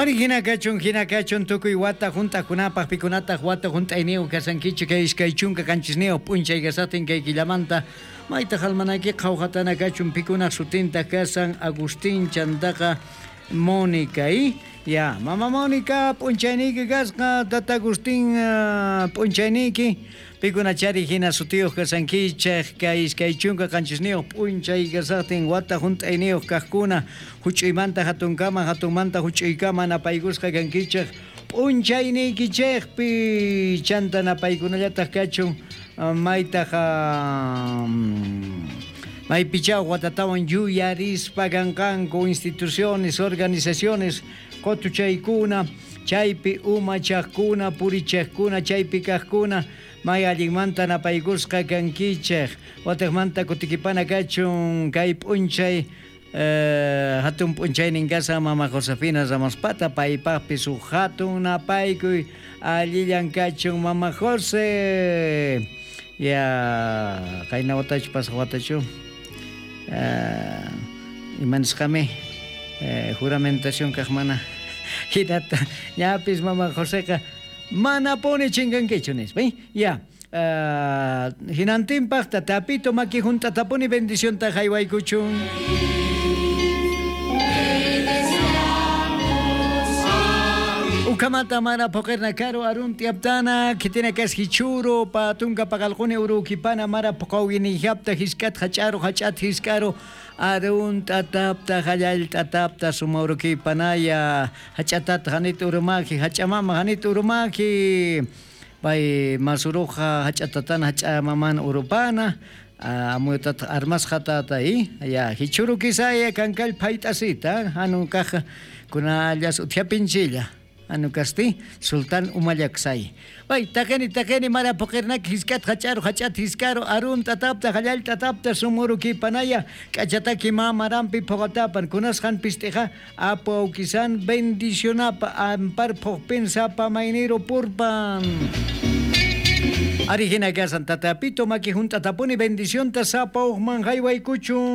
Ari hina kachun tukuy wata hunt'aqkunapaq, pikunataq wata hunt'ayniyuq kasankichik kay 27 p'unchay kasaqtin kay killamanta maytaq almanaki qhawqatana kachun pikunaq sutintaq kasan Agustín chantaqa Mónica ya mama Mónica p'unchayniyki kasqa tata Agustín p'unchayniyki pikunachari hina sutiyuq kasankichik kay 27 p'unchay kasaqtin wata hunt'ayniyuq kaqkuna huch'uymanta hatunkama hatunmanta huch'uykama napaykusqa kankichik p'unchayniykichikpi chanta napaykunallataq kachun maytaq maypichaw watatawan yuyarispa kanqanku instituciones, organizaciones qotuchaykuna chaypi umachaqkuna purichaqkuna chaypi kaqkuna may allinmanta napaykusqa kankichik wataqmanta kutikipana kachun kay p'unchay hatun p'unchaynin kasan mama Josefina Ramospata paypaqpis huk hatun napaykuy allillan kachun mama Jose ya qayna watachu pasaq watachu imanisqami juramentación kaq mana hinata ñapis mama Joseqa manapuni chinkankichu nispa ya hinantinpaq tatapito maki hunt'atapuni bendicionta haywaykuchun. Ukamata mara poqerna karu arun tiaptana kitina kas hichuro patunka pagalquni urukipana mara poqawinijapta hiskat hach'aru hach'at hiskaru arun tatapta hallal tatapta sumaurukipanaya hach'atat hanit urumaki hach'amama hanit urumaki pay masuruja hach'atatana hach'amaman urupana amutat armasqa tata ya hichuru kisaya kankal payt'asita hanun kaq kunallas uthiapinchilla anu kasti Sultan Umallaksay. Bay taqeni taqeni mara poqirnak hiskat hach'aru hach'at hiskaru arun tatapta hallal tatapta sumurukipanaya k'achataki mamarampi phoqatapan kunasqan pist'iqa apu awkisan bendicionapa ampar phoqpin sapa mayniro purpan. Ari hina kasan tatapito maki hunt'atapuni bendicionta sapa uqman haywaykuchun.